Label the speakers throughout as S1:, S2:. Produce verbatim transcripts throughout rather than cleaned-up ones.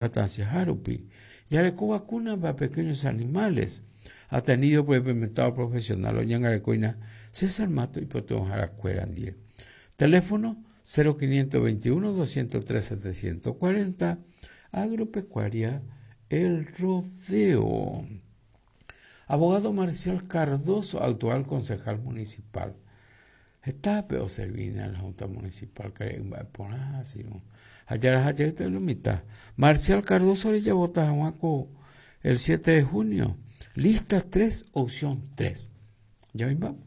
S1: Harupi. Yareko vacuna para pequeños animales. Atendido por el implementado profesional oñangarekoina César Mato y Jaracuera. Teléfono cero quinientos veintiuno doscientos tres setecientos cuarenta. Agropecuaria El Rodeo. Abogado Marcial Cardoso, actual concejal municipal. Está peor servir en la Junta Municipal que por así, ¿no? Allá lo mitad. Marcial Cardoso le llevó a Juanco el siete de junio. Lista tres, opción tres. Ya ven, vamos.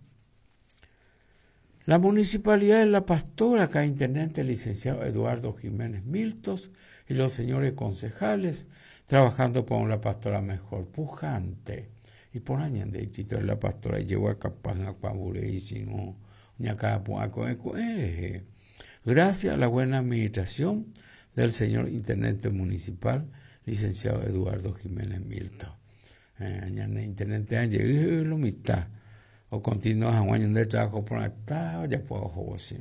S1: La Municipalidad de La Pastora, acá intendente licenciado Eduardo Jiménez Miltos y los señores concejales trabajando por una pastora mejor, pujante. Y por años de chito de La Pastora llegó a Capaz, a Cuabure y si no, ni acá, a Coe. Gracias a la buena administración del señor intendente municipal, licenciado Eduardo Jiménez Miltos. Eh, intendente Ángel, lo mitad. O continúa a año de trabajo por acá, ya puedo jugar así.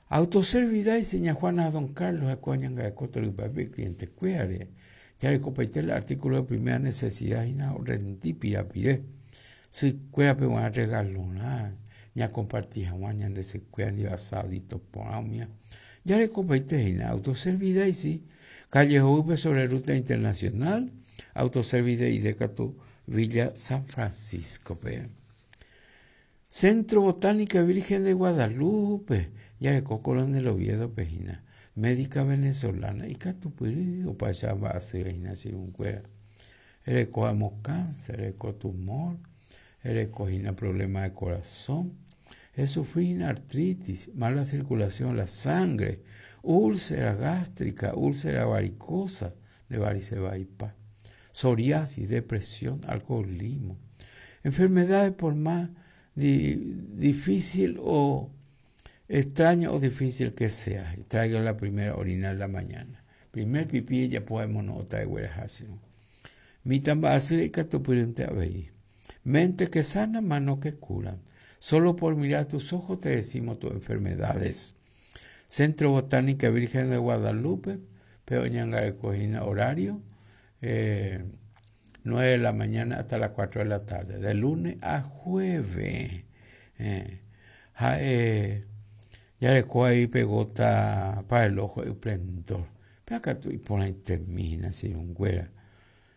S1: Autoservidad y seña Juana Don Carlos, acuañan a Coto y Papi, cliente cuare. Ya le copaité el artículo de primera necesidad y na rendí pirapiré. Si cuera pe van a regalar, ya compartí a de se cueran y asadito por mía. Ya le copaité en autoservidad y sí. Calle Joven sobre ruta internacional, autoservidad y de Catu Villa San Francisco. Pe. Centro Botánica Virgen de Guadalupe, ya le cocolón del Oviedo, pejina, médica venezolana, y Catupiri, o pasaba a hacer un cuera. El coamo cáncer, el tumor, el cogina problema de corazón, el sufrir artritis, mala circulación de la sangre, úlcera gástrica, úlcera varicosa, de varice vaipa, psoriasis, depresión, alcoholismo, enfermedades por más di, difícil o extraño o difícil que sea. Traiga la primera orina en la mañana. Primer pipí ya podemos notar de huejación. Mi tamba así que abey. Mente que sana, mano que curan. Solo por mirar tus ojos te decimos tus enfermedades. Centro Botánica Virgen de Guadalupe, Peoñanga de Cojina, horario, eh, nueve de la mañana hasta las cuatro de la tarde, de lunes a jueves. Eh, ja, eh, ya le cojo ahí pegota para el ojo y esplendor. Pero acá tú y por ahí termina, si un güera.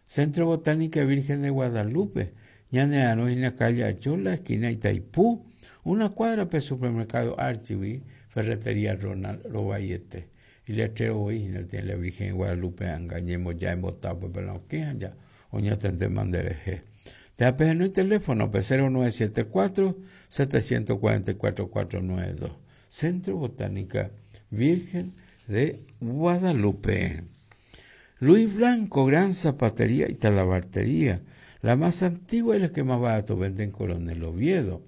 S1: Centro Botánica Virgen de Guadalupe, Ñaneano en la calle Achola, esquina Itaipú, una cuadra para el supermercado Archiví, ferretería Ronald Robayete. Y le traigo hoy, no tiene la Virgen de Guadalupe, engañemos ya en botado, pero no quejan ya, oña tente mandereje. Te apenas el teléfono, P cero nueve siete cuatro, setecientos cuarenta y cuatro, cuatro nueve dos. Centro Botánica Virgen de Guadalupe. Luis Blanco, gran zapatería y talabartería, la más antigua y la que más barato vende en Coronel Oviedo.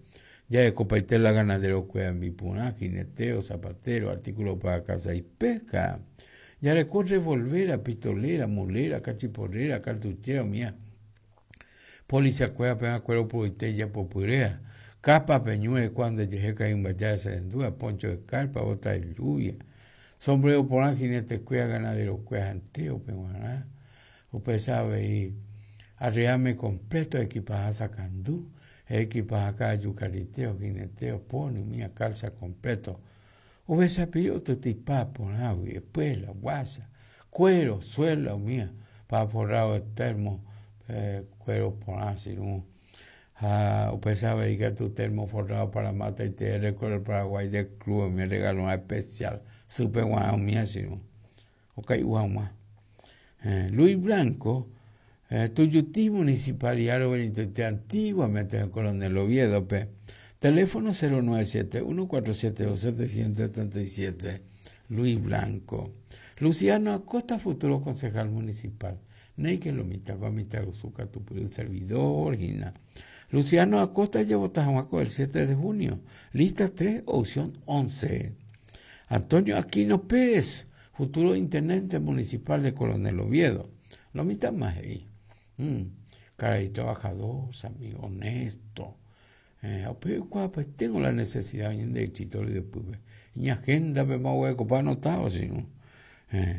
S1: Ya de Copaitela, ganadero, cueva, mipuná, jineteo, zapatero, artículo para casa y pesca. Ya le corre revolvera, pistolera, mulera, cachiporrera, cartuchera, mía. Policía, cueva, pega, cuero, puritella, popurea. Capa, peñuele, cuando llegué, caí un bayar, se endúa, poncho de carpa, bota de lluvia. Sombrero por jinete, cueva, ganadero, cueva, anteo, peguaná. Usted sabe, y arreame completo, equipaje sacandú, equipaje acá, yucariteo, jineteo, pony, mía, calza completo. Hubiese pedido tu tipa por agua, espuela, guasa, cuero, suela, mía, pa forrado de termo, eh, cuero por así, ¿no? Ah, usted sabe que tu termo forrado para mata y te recuerdo el Paraguay del club, me regaló una especial, super guau, mía, sí, ¿no? Ok, guau, más. Eh, Luis Blanco, eh, Tuyutí, Municipalidad de antiguamente en Coronel Oviedo, pe. Teléfono cero nueve siete uno cuatro siete dos setecientos setenta y siete, Luis Blanco. Luciano Acosta, futuro concejal municipal. Neike lo mita, guamita, usuca, tu un servidor, gina. Luciano Acosta llevó Tajahuaco el siete de junio. Lista tres, opción once. Antonio Aquino Pérez, futuro intendente municipal de Coronel Oviedo. Lo mitad más ahí. Mm. Caray, trabajador, amigo, honesto. Eh, pero, pues tengo la necesidad de éxito y después. Mi agenda me voy a ocupar anotado, sino. Eh,